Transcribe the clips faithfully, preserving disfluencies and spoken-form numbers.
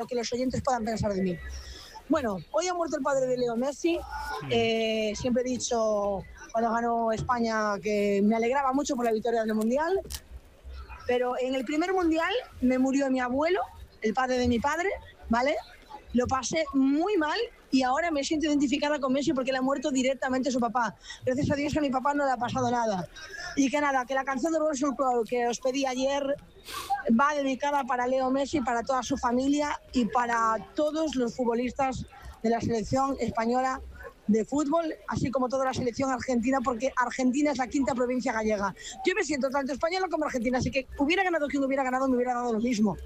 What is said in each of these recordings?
lo que los oyentes puedan pensar de mí. Bueno, hoy ha muerto el padre de Leo Messi. Eh, siempre he dicho cuando ganó España que me alegraba mucho por la victoria del Mundial. Pero en el primer Mundial me murió mi abuelo, el padre de mi padre, ¿vale? Lo pasé muy mal y ahora me siento identificada con Messi porque le ha muerto directamente su papá. Gracias a Dios que a mi papá no le ha pasado nada. Y que nada, que la canción de Russell Crowe que os pedí ayer va dedicada para Leo Messi, para toda su familia y para todos los futbolistas de la selección española de fútbol, así como toda la selección argentina, porque Argentina es la quinta provincia gallega. Yo me siento tanto española como argentina, así que hubiera ganado quien hubiera ganado, me hubiera dado lo mismo.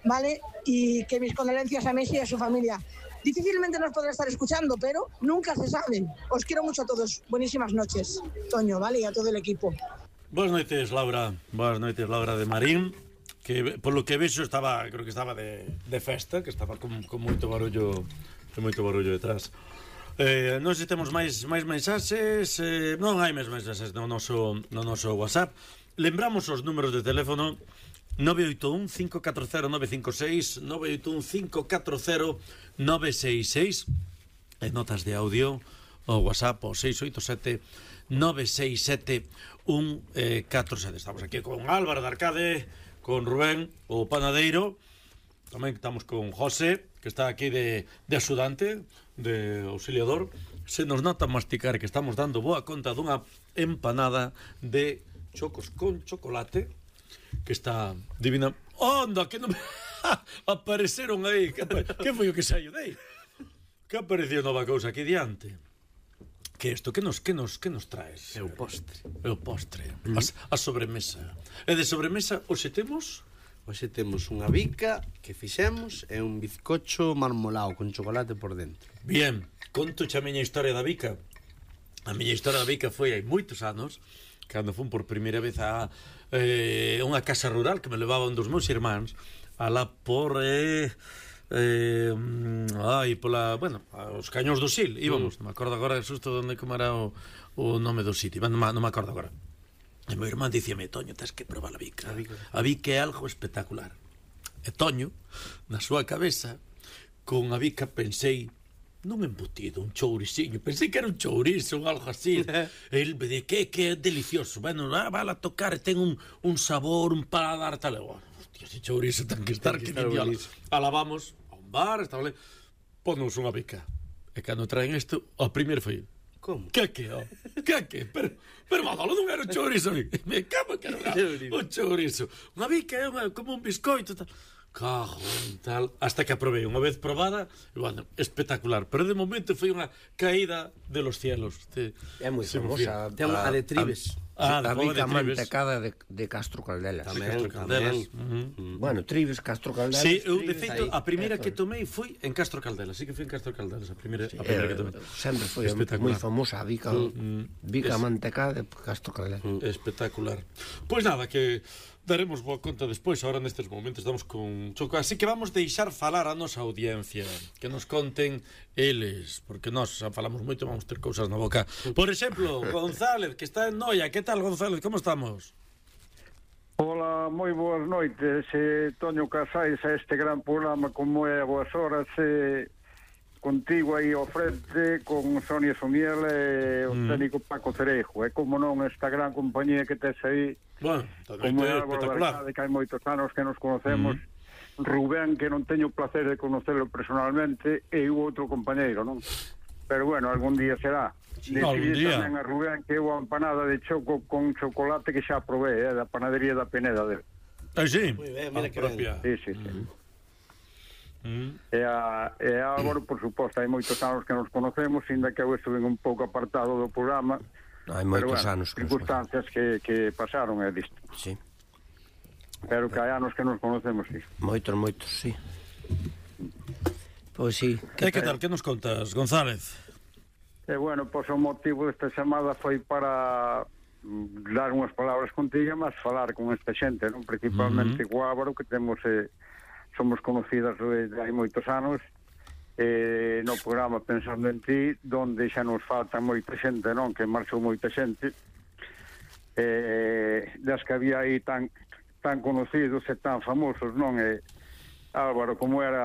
¿Vale? Y que mis condolencias a Messi y a su familia. Difícilmente nos podrá estar escuchando, pero nunca se sabe. Os quiero mucho a todos. Buenísimas noches, Toño, ¿vale? Y a todo el equipo. Boas noites, Laura. Boas noites, Laura de Marín. Que, por lo que vexo, estaba, creo que estaba de, de festa, que estaba con, con moito barullo, con moito barullo detrás. Eh, non sei se temos máis, máis mensaxes. Eh, non hai máis mensaxes no noso, no noso WhatsApp. Lembramos os números de teléfono nove oito un, cinco catro cero, nove cinco seis, nove oito un, cinco catro cero, nove seis seis, e notas de audio o WhatsApp o seis oito sete, nove seis sete, un catro sete. Estamos aquí con Álvaro de Arcade, con Rubén, o panadeiro. Tamén estamos con José, que está aquí de, de axudante, de auxiliador. Se nos nota masticar que estamos dando boa conta dunha empanada de chocos con chocolate que está divina. Onda, que non me... apareceron aí. Que, que foi o que saiu dei? Que apareceu nova cousa aquí diante. Que isto, que nos, que nos, que nos traes? É o postre. É o postre. A, a sobremesa. E de sobremesa, hoxe temos... Hoxe temos unha bica que fixemos e un bizcocho marmolado con chocolate por dentro. Bien, conto xa a miña historia da bica. A miña historia da bica foi hai moitos anos, cando fun por primeira vez a eh, unha casa rural que me levaban dos meus irmáns alá por eh, eh, ai, pola, bueno, os Cañóns do Sil íbamos, mm. non me acordo agora xusto onde como era o, o nome do sitio, non, non me acordo agora. E meu irmán dicíame, Toño, tens que probar a bica. A bica, a bica é algo espectacular. E Toño, na súa cabeza, con a bica pensei nun embutido, un chouriciño. Pensei que era un chourizo, un algo así. El me di que, que é delicioso. Bueno, ah, vale a tocar, ten un, un sabor, un paladar, tal. Bueno, hostia, ese chourizo ten que estar, que niño. Alabamos a un bar, estaba ali, ponnos unha bica. E cando traen isto, o primeiro foi... Como? Que que, oh? Que que? Pero, pero Manolo non era un chourizo. Me cago que era un chourizo. Unha bica é unha, como un biscoito, tal. Cago en tal. Hasta que aprobei unha vez probada, e, bueno, espectacular. Pero de momento foi unha caída de los cielos. Te, é moi famosa. Ten a de Tribes. Ah, a bica mantecada de, de Castro Caldelas. Tamén, Castro Caldelas. Uh -huh. Bueno, Tribes, Castro Caldelas. Sí, eu de feito a primeira que tomei foi en Castro Caldelas. Sí que foi en Castro Caldelas a primeira, sí, a primeira que tomei. Sempre foi moi famosa a bica, mm, bica es, mantecada de Castro Caldelas. Mm, espectacular. Pois pues nada, que daremos boa conta despois. Ahora nestes momentos estamos con Choco, así que vamos deixar falar a nosa audiencia, que nos conten eles, porque nós xa falamos moito, vamos ter cousas na boca. Por exemplo, González, que está en Noia. Que tal, González? Como estamos? Hola, moi boas noites, eh, Toño Casais, a este gran programa como é a boas horas, eh, contigo aí ao frente, con Sonia Somiel e o mm. técnico Paco Cerejo, e como non esta gran compañía que tes aí, bueno, como é espectacular, que hai moitos anos que nos conocemos, mm. Rubén, que non teño o placer de conocerlo personalmente, e o outro compañeiro, non? Pero bueno, algún día será. Sí, algún día. Tamén a Rubén que é unha empanada de choco con chocolate que xa probé, eh, da panadería da Peneda dele. Ah, sí? Muy ben, mira que propia. Sí, sí, sí. Mm. E a, e a Álvaro, por suposto, hai moitos anos que nos conocemos, ainda que eu estuve un pouco apartado do programa. Hai moitos pero, bueno, anos que circunstancias que, que pasaron, é disto. Sí. Pero que hai anos que nos conocemos, sí. Moitos, moitos, sí. Pois sí. Que, que tal? Que nos contas, González? E bueno, pois o motivo desta chamada foi para dar unhas palabras contigo, mas falar con esta xente, non? Principalmente uh-huh. co Álvaro, que temos eh, somos conocidas desde hai moitos anos, eh, no programa Pensando en Ti, donde xa nos falta moita xente, non? Que marchou moita xente, eh, das que había aí tan tan conocidos e tan famosos, non? E Álvaro, como era